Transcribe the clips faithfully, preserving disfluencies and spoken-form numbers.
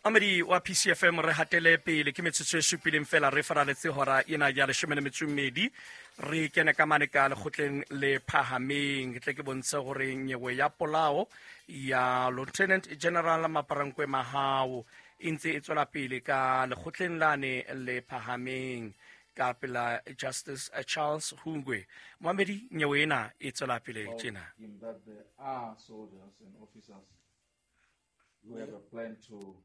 Amedi wa P C F M re hatele pele ke metsotso e supileng fela re faraletse hora ena ya leshome le metso e mmedi re kene ka mane ka lekgotleng le phahameng. Ke tle ke bontshe hore nyewe ya polao ya Lieutenant General Maaparankoe Mahao e ntse e tswela pele ka lekgotleng lane le phahameng ka pela Justice Charles Hungwe. Moamedi, nyewe ena e tswela pele tjena. In that there are soldiers and officers who have a plan to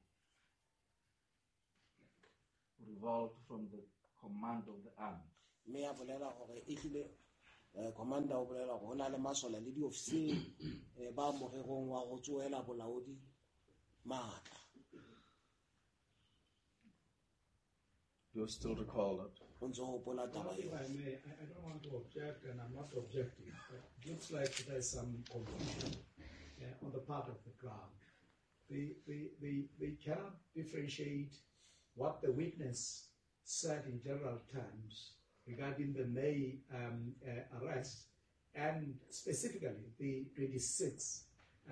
revolt from the command of the army. Mme ya bolela hore ehlile, eh, commander o bolela hore ho na le masole le diofisiri, eh, ba morerong wa ho tsohela bolaodi matla. Do you still recall that? O ntso hopola taba eo? If I may, I, I don't want to object, and I'm not objecting, but it looks like there's some confusion, uh, on the part of the crowd. They, they, they, they cannot differentiate what the witness said in general terms regarding the May, um, uh, arrest and specifically the twenty-six,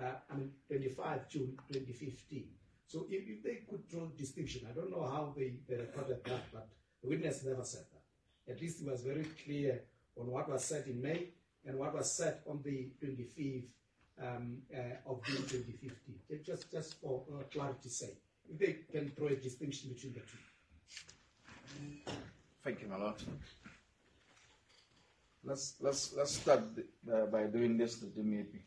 uh, I mean twenty-five June twenty fifteen. So if, if they could draw distinction, I don't know how they, they recorded that, but the witness never said that. At least it was very clear on what was said in May and what was said on the twenty-fifth, um, uh, of June twenty fifteen. Just, just for, uh, clarity's sake, if they can draw a distinction between the two. Thank you, my lord. Let's, let's, let's start the, uh, by doing this, the M A P.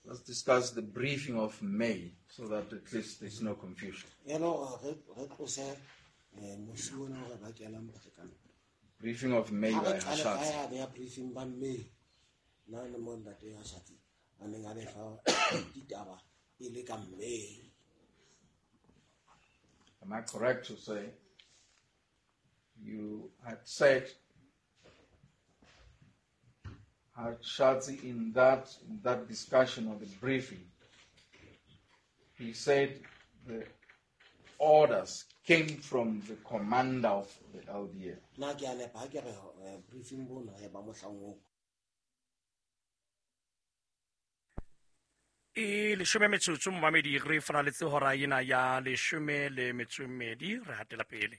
Let's discuss the briefing of May so that at least there's no confusion. Hello, uh, re, re tlose, eh, mosi ona o re bakelang pherekano. Briefing of May Ha re by qale Hashatsi. ka ya beha briefing ba May. Na le mo ntate Hashatsi a neng a le fa ditaba e le ka May. Am I correct to say you had said Hashatsi in that, in that discussion or the briefing, he said the orders came from the commander of the L D F. Na ke a nepa ha ke re, eh, briefing bona ya ba mohlang oo. E leshome metsotso momamedi re faraletse hora ena ya leshome le metso e mmedi re hatela pele.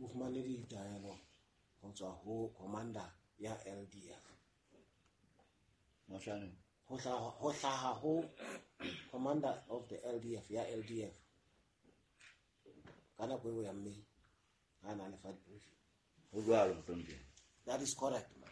O fumane ditaelo ho tswa ho commander ya L D F. Mohlaneng. Ho hlaha, ho hlaha ho commander of the L D F ya L D F. Ka nako eo ya mme ha na le fa briefing. Ho jwalo, mohlomphehi. That is correct, ma'am.